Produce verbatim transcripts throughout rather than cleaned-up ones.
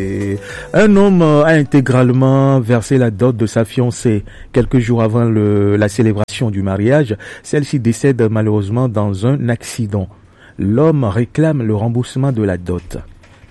Et un homme euh, a intégralement versé la dot de sa fiancée. Quelques jours avant le- la célébration du mariage, celle-ci décède malheureusement dans un accident. L'homme réclame le remboursement de la dot.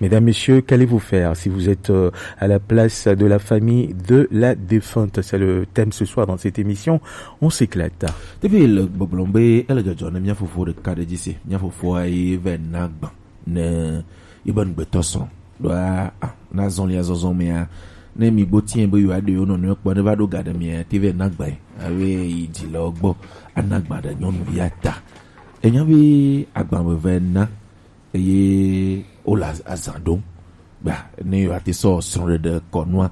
Mesdames, Messieurs, qu'allez-vous faire si vous êtes euh, à la place de la famille de la défunte ? C'est le thème ce soir dans cette émission. On s'éclate. Depuis le boblombe, elle a déjà donné mia fofo de cadre d'ici. Mia fofo a éve nagba. Ne, iban beto son. Doa, ah, na zon lia zon zon mea. Ne mi bo tien bo yo ade yo no ne kpɔ ne va ɖo ga ɖe mia te vɛ nagba. Awe yi dzi le gbɔ. Anagba ɖe nyɔnuvia ta. Enya be agba veve na. Eye wole az- azã ɖom. Ba, ne yewoate sɔ srɔ̃ɖeɖe kɔnua.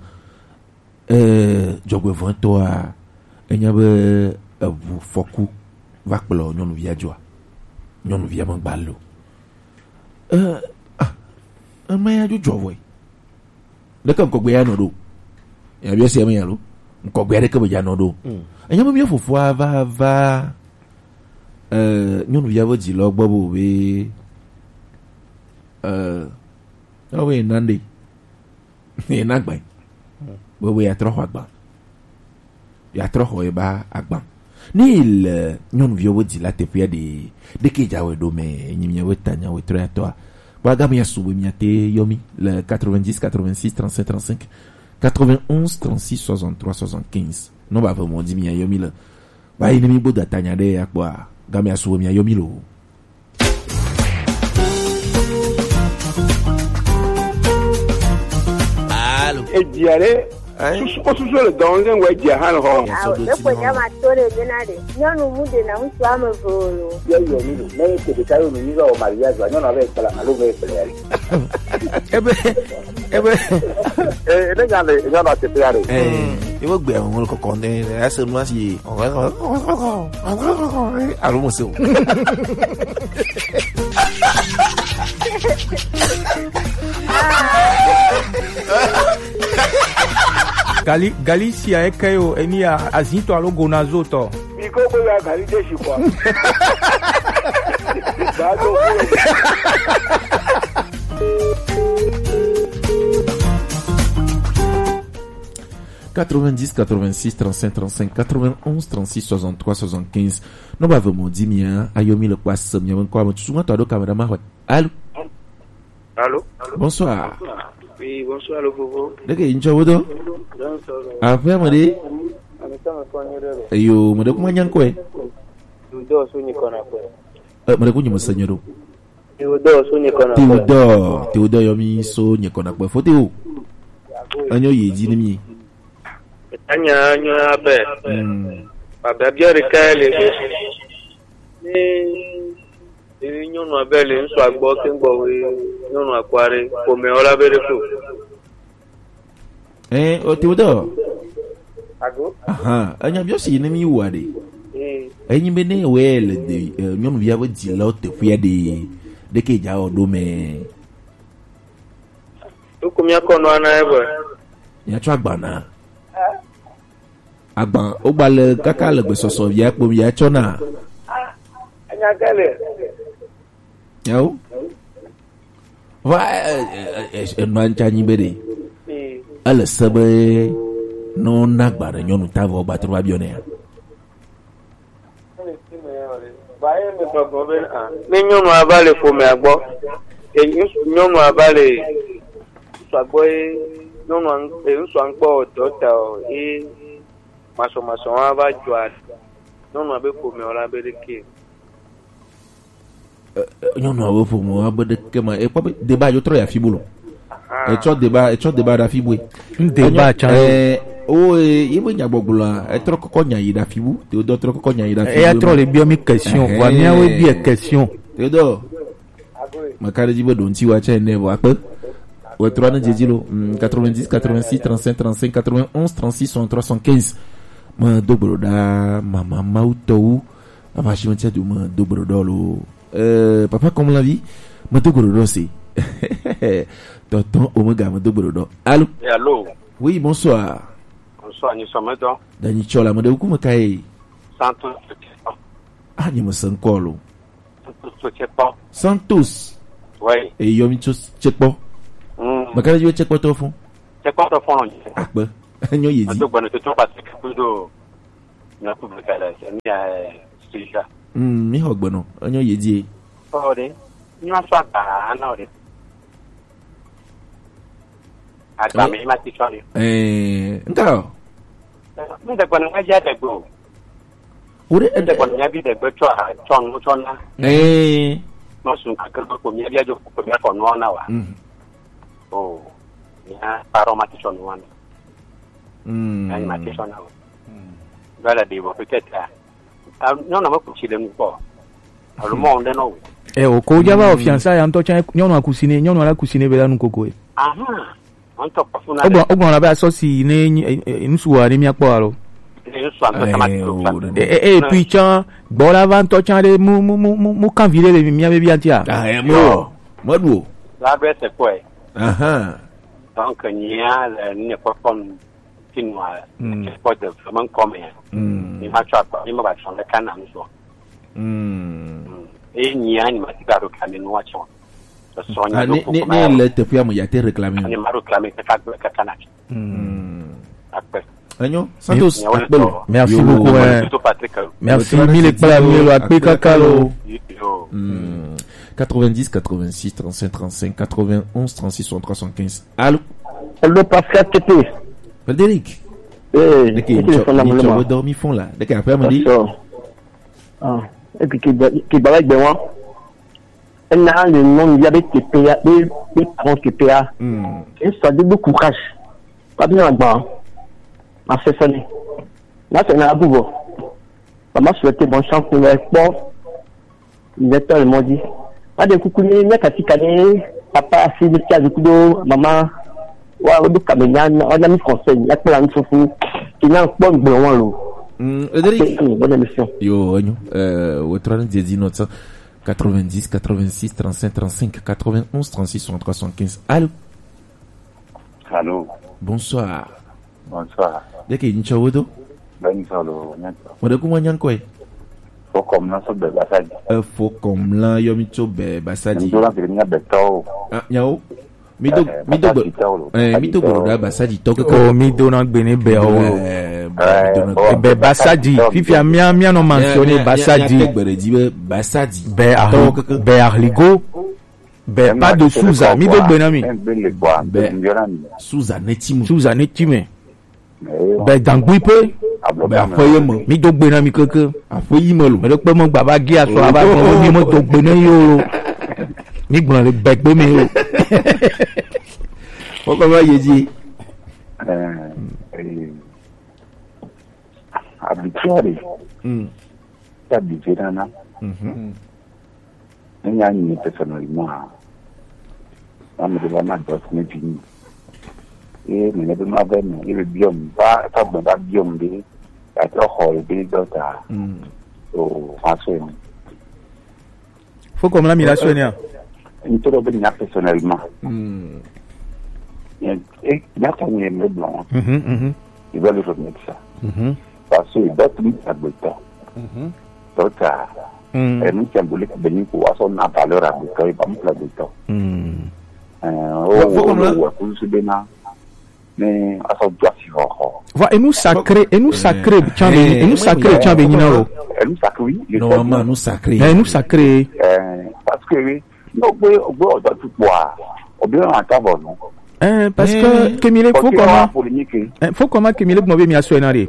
Eh, dzɔgbevɔ̃etɔa, enya be eʋu fɔku va kplɔ nyɔnuvia dzoa. Nyɔnuvia megba lo. Eh, ah, ema ya dzo dzɔ vɔe. Ɖeke ŋkɔgbe ya nɔ ɖo. Ya bia sia me ya lo. Ŋkɔgbe aɖeke me ya nɔ ɖo. Enya be mia fofoa va va, eh, nyɔnuvia ƒe dzilɔ gbɔ be, be, eh, ewɔe na ɖe. Ye na gbe. Be, be ya trɔ xɔ agba. Ya trɔ xɔ ye ba agba. Ne yi le nyɔnuviwo be dzi la teƒea ɖe, ɖeke dza wɔe ɖo me, nyi mia be ta nya wɔe trɔ ya tɔa. Kpɔ aga mia su be mia te yɔ mi le quatre-vingt-dix, quatre-vingt-six, trente-cinq, trente-cinq, quatre-vingt-onze, trente-six, soixante-trois, soixante-quinze. Nɔmba ve mɔ dzi mia yɔ mi le. Ba yi ne mi bo da ta nya ɖe ya kpɔa, ga mia su be mia yɔ mi lo. Alo. Edzia ɖe. Hein? Susu ko susu le dɔn le ŋgɔ edzia hã le hɔ. Awo, ne ko nya ma to le dena ɖe. Nyɔnu mu ɖe na ŋutsu ame eve o lo. Ye yɔ mi lo. Ne ke ɖeka yɔ mi ni va wɔ mariage wa, nyɔnu ave kpla alo ve kpla ya. Ebe, ebe. Eh, ne nya le, nya na te ya ɖe. Eh, ebe gbe ŋun kɔkɔ ne, ese nu asi. Alo mo se o. Gali, Gali sia eke yo, eni a, azito alo gonazo tɔ. Mi ko ko ya Gali de si kwa. Ba do ko. Quatre-vingt-dix, quatre-vingt-six, trente-cinq, trente-cinq, quatre-vingt-onze, trente-six, soixante-trois, soixante-quinze. Nɔmba ve mɔ dzi mia, ayɔ mi le kpɔ ase mia be ŋkɔ ame tutu ŋutɔ aɖo kame ɖe ma xɔe. Alo. Allô? Bonsoir. Oui, bonsoir, le Bobo. Ɖeke ŋtsɔ wo dɔ? Bonsoir. Aƒe me ɖe? Ame tame kɔ nyo ɖe lo. Eyo, me ɖe kuma nya ŋkɔe. Théodore so nyi kɔna kɔe. Eh, me ɖe ku nyi me se nyo ɖo. Théodore so nyi kɔna kɔe. Théodore, Théodore yɔ mi so nyi kɔna kɔe. Fote o. Enyo yi dzi ni mi. Anya nyo abe. Hmm. Baba bia ɖeka le. Ni Eye nyɔnua be le ŋutsua gbɔ keŋ gbɔ be nyɔnua kpɔ aɖe ƒomea wɔ la be ɖe ko. Eh, o Théodore. Ago? Aha, enya biɔ si ne mi wa ɖe. Eh. Enyi be ne wɛ le de, eh, nyɔnuvia be dzilawo teƒea ɖe, ɖeke dza wɔ ɖo mɛ. Toko mia kɔ nua na ebe. Mia tsɔ agba na. Agba, wogba le kaka le gbesɔsɔ via kpo via tsɔ na. Enya ke le. Yawo. Va, eh, eh, eh, eh, enua ŋtsa nyi be ɖe. Ele se be ne wona agba ɖe nyɔnu ta vɔ gba trɔ va biɔ nɛ ya. Ne nyɔnua va le ƒomea gbɔ, e, ŋutsu, nyɔnua va le ŋutsua gbɔ ye nyɔnua ŋ-, e, ŋutsua ŋkpɔ dɔ ta o, ye masɔmasɔ wa va dzɔa nyɔnua be ƒomea la be ɖeke. Eh, eh, nyɔnua be ƒomea be ɖeke ma, ekpɔ be deba yo trɔ ya fi bolo. Etsɔ deba, etsɔ deba ɖe afi bue. Ŋdeba tsa. Eh, o, eh, ye be nyagbɔgblɔa, etrɔ kɔkɔ nya yi ɖe afi bu. Te wodɔ trɔ kɔkɔ nya yi ɖe afi bu. Eya trɔ le biɔ mi question. Vɔa miawoe biɛ question. Te wodɔ. Meka ɖe dzi be ɖo ŋuti wa tsɛ ne vɔ akpe. Wɔ trɔ ne dzedzi lo. Mm, quatre-vingt-dix, quatre-vingt-six, trente-cinq, trente-cinq, quatre-vingt-onze, trente-six, soixante-trois, soixante-quinze. Me do gbe ɖo ɖa, mama mawu tɔwu. Ava si me tse do me do gbe ɖo ɖɔ lo. Euh, papa comme la vie, me do gbe ɖo ɖɔ si. Tonton Omega me do gbe ɖo ɖɔ. Allô? Eh, allô? Oui, bonsoir. Bonsoir, nyi sɔmɛtɔ. Danyi tsɔ la, me de ku me ka ye. Santos. Ah, nyi me se ŋkɔ lo. Santos tso tse kpɔ. Santos. Ouais. E yɔ mi tso tse kpɔ. Hmm. Mekana yo tse kpɔtɔ fún. Tse kpɔtɔ fún lɔ. Akpe. Enyo ye di. Edo gbɔnɔ tuntun pase kudo. Nya ku beka la se mi a suja. Mm, mi xɔ gbɔnɔ. Enyo ye di. O de. Ni ma sɔ agba na o de. Agba mi ma ti sɔ de. Eh, nka. Mi de gbɔnɔ ma ja de gbo. Wo de. Mi de gbɔnɔ nya bi de gbo tsɔ a tsɔ nu tsɔ na. Eh. No sun kakra ko mi bi ajo ko mi ko no na wa. Mm. O. Nya paro ma ti sɔ nu wa. Mm. Nya ma ti sɔ na wa. Voilà, des fois, peut-être, ah, ah, non, non, moi, je suis le mouton. Alors, moi, on est non. E o ko jaba o fiansa ya ŋutɔ tsã nyɔnua kusine, nyɔnua la kusine be la nu koko e. Aha. On top of una. Ogbɔn ogbɔn la be asɔsi ne nyi- e- e- nusu wa ne miakpɔ alo. Ne nusu an to sama. Eh, tu o, sa. Ne- E e e puis tsã gbɔ la va ŋutɔ tsã ɖe mu mu mu mu mu kan vi ɖe le mia be bia tia. Ah, eh, mo. Mo du o. La be c'est quoi? Aha. Donc, il y a le ne pas comme Finnois, mm, c'est pas de vraiment comme, hein. Mm. Il m'a tué, il m'a battu sur le canal, so. Mm. Et il y a une matière à réclamer, nous, à Tchon. Ce sont Ah, les ne ne ne le te fi ame ya te réclamer. Il m'a réclamé, c'est pas de canal. Mm. Après. Enyo, Santos, Merci. Akpelo. Merci beaucoup, ouais. Surtout Patrick. Merci, mille plats, mille akpe kakalo. Yo. Hmm. Quatre-vingt-dix, quatre-vingt-six, trente-cinq, trente-cinq, quatre-vingt-onze, trente-six, soixante-trois, soixante-quinze. Allô? Allô, Pascal T P. Frédéric. Eh, Deke, c'est le fond d'abonnement. Dormi fond là. Deke, après, m'a dit. Bonsoir. Ah, et puis, qui, qui balade de moi. Ena le nom ya be teƒea, be, be parents teƒea. Hmm. Et ça donne beaucoup courage. Pas bien là-bas. Ma fait sonner. Ma fait na bubo. Maman souhaite bonne chance pour les sports. Il est tellement dit. Pas de coucou, ni, ni, kati, kani, papa, si, ni, kia, du coup, do, maman. Wa, o, du, kamenya, on a mis français, il y a plein de choses. Il y a un bon, bon, bon, bon. Hmm, Frédéric. Bonne émission. Yo, enyo. Euh, au trois dix-neuf cent. Quatre-vingt-dix, quatre-vingt-six, trente-cinq, trente-cinq, quatre-vingt-onze, trente-six, soixante-trois, soixante-quinze. Allô? Allô? Bonsoir. Bonsoir. Deke ntsɔ wo do? Ben, solo, nyato. Mo de kuma nyanko e? Fo kom na so be Basadi. E fo kom la yo mi tso be Basadi. Nto la gre nya be to. Ah, nyawo. Mi do, eh, mi do gbe, Basadi tɔ lo. Eh, mi do gbe ɖo ɖa Basadi tɔ keke. Oh, mi do na gbe ne be o. Eh, eh, mi do na gbe. Be Basadi, fifia mia, mia nɔ mentionner Basadi. Mia, mia, mia, mia gbe ɖe dzi be Basadi. Be ahli-, tɔ keke. Be ahligo. Be pas de Suza, mi do gbe na mi. Be Suza ne ti mu. Suza ne ti me. Be dangui pe. Be aƒe ye me. Mi do gbe na mi keke. Aƒe yi me lo. Me ɖe kpe me gbava gi asɔ ava gbɔ mi me do gbe na yo lo. Mi gblɔ le be gbe me yo. Wo kɔ va yi dzi. Eh, eh, habitué. Mm. Habitué nana. Mhm. Ne nya nyi personnellement a, ame ɖe va ma dɔ si ne vi nyi. Ye me ne be ma ve me, ye be biɔ m, va, va gbe va biɔ m be, ya trɔ xɔ le be dɔ ta. Mm. O, ma so ene. Faut comme la mi la so ene a? Ŋutɔ ɖe be nya personnellement. Mm. Ye, e, nya ta nyi me blanc. Mhm, mhm. Il va le remettre ça. Mhm. Parce que d'autres nous agbetɔ. Mhm. Donc, euh, mm, et nous symbolique de nous pour avoir son valeur agbetɔ et pas pour agbetɔ. Mm. Euh, oh, oh, oh, ouais, pour se donner, mais à son droit si fort. Voilà, et nous sacré, et nous sacré, tiens, et nous sacré, tiens, Benina, oh. Et nous sacré, oui, je sais. Normalement, bien. Nous sacré. Et nous sacré. Euh, parce que oui, no gbe, gbe ɔdɔ tukpɔa, obi na ta bɔ nu. Eh, parce que, eh, kemi le fo kɔma, eh, fo kɔma kemi le gbɔn be mi asɔ ena de.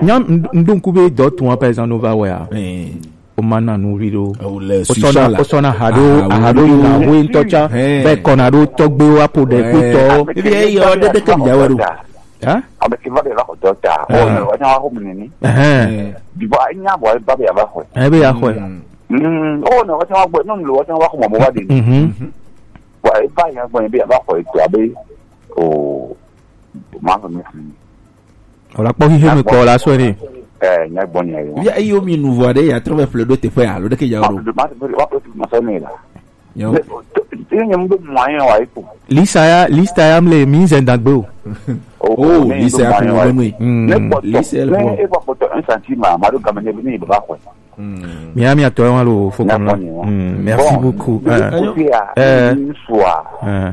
Nya n-, n-, donc be dɔ tun, par exemple, no va wɛ a. Eh. O ma na nu vi do. O sɔna, o sɔna ha do, aha do yi na ho ntɔ tsa. Eh. Be kɔna do tɔgbe wa po de ku tɔ. Ebi e yɔ de de ke mi ya wɛ do. Hein? Ame ke va de la ko dɔ ta. Eh. O ne wa nya wa ho mi ni. Eh. Bi ba nya bo ba be ya ba ho. Eh, be ya ho. Mm. Mm, oh, no, wata wa gbe, no, no, wata wa ko mo wa de. Mhm. Wa e ba ya gbe be ba ko e to abe. Oh, ma ko mi. Wala kpɔ hihe me kɔ la so ni. Eh, nya gbɔ nya yo. Ya, iyo mi nu vɔ de ya trɔ be ƒle do te ƒe alo de ke ya ro. Ma, ma, ma, ma so ni la. Yo. Ne, ne, ne, ne, ne, ne, ne, ne, ne, Lisa ya, lisa ya mle mi nze dagbe o. Oh, oh, ne lisa ya ko mo nui. Mm, ne kpɔtɔ, lisa ya ne ko. E kpɔtɔ un centime, ma do game ne, ne ba ko. Mm. Miami atɔ wa lo fo kɔnɔ. Mm, merci beaucoup. Bon, eh, eh, eh.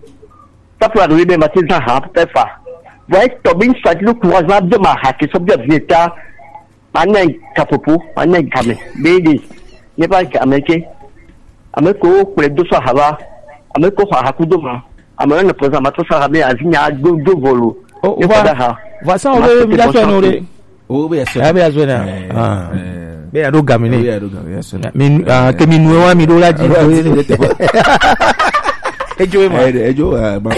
Tapu la ɖo yi be ma ti zan ha pe fa. Vɔ etɔ be ŋutsu ati ɖo courage ma do ma ha ke sɔ bi avi ta. Ma ne kapopo, ma ne game. Be de. Ne ba game ke. Ame ko kplɔe do sɔ ha va. Ame ko xɔ aha ku do ma. Ame ne prezan ma to sɔ ha be avi nya do do volo. Oh, Ne va, fa da ha. va ça, Ma on veut tete bien bɔ faire, sɔ non, ke. les- O be ya sɔ. Ah, bien joué, là. Eh, Ah. eh. Bien, il y a d'autres gamins. Oui, ya do game, ya sɔ. Mi, ah, que mi nous, mi do la dit. Ah, ouais, c'est- Ejo ma. Eh, eh, Joe, eh, ma-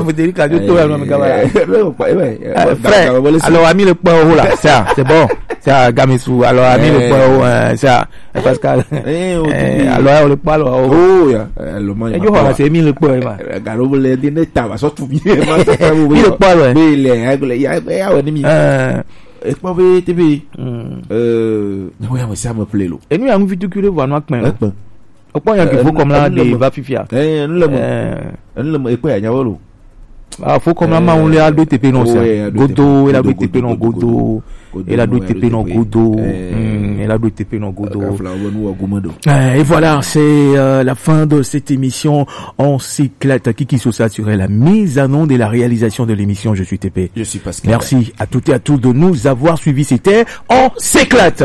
Faut dire que tu tournes, non, mais voilà. Eh, ouais, ouais, ouais, Euh, ouais, frère, ouais, ouais, alors ami le point au là, ça, c'est bon. Ça, Gamisu, alors ami le Eh. point au, euh, ça, Pascal. Eh, on Eh, dit- alors, le point au. Oh, ya. Eh, le man, Ejo ma, c'est mi le point, ma. Garo le di ne ta va sɔ tu bi. Ma sɔ ta bu. Mi le point, ouais. Mais il est, hein, il est, il est, il est, il est, Euh, Ekpɔ be te be. hmm. Euh, ne ya me sa me ple lo. Et nous, il y a une vie tout curé, voilà, nous, Ekpɔ. Au point, il y a qu'il faut Euh, comme là, euh, des euh, va fifia. Eh, ne le mo. Euh, Ne le mo, ekpɔ ya nya wo lo. Ah, faut comme là, on l'a d'autres T P non, Oh, ça. ouais, il y a d'autres Godo, il a Godo, d'autres T P non, Godo, Godo. Godo, Il a non, d'autres il y a T P non, d'autres T P. Godo. Eh. Hmm, il a d'autres T P non, Godo. Ka fla wo nu wa gume do. Euh, Et voilà, c'est euh, la fin de cette émission. On s'éclate. Kiki Sosa sur la mise en onde et la réalisation de l'émission Je suis T P. Je suis Pascal. Merci à toutes et à tous de nous avoir suivis. C'était On s'éclate.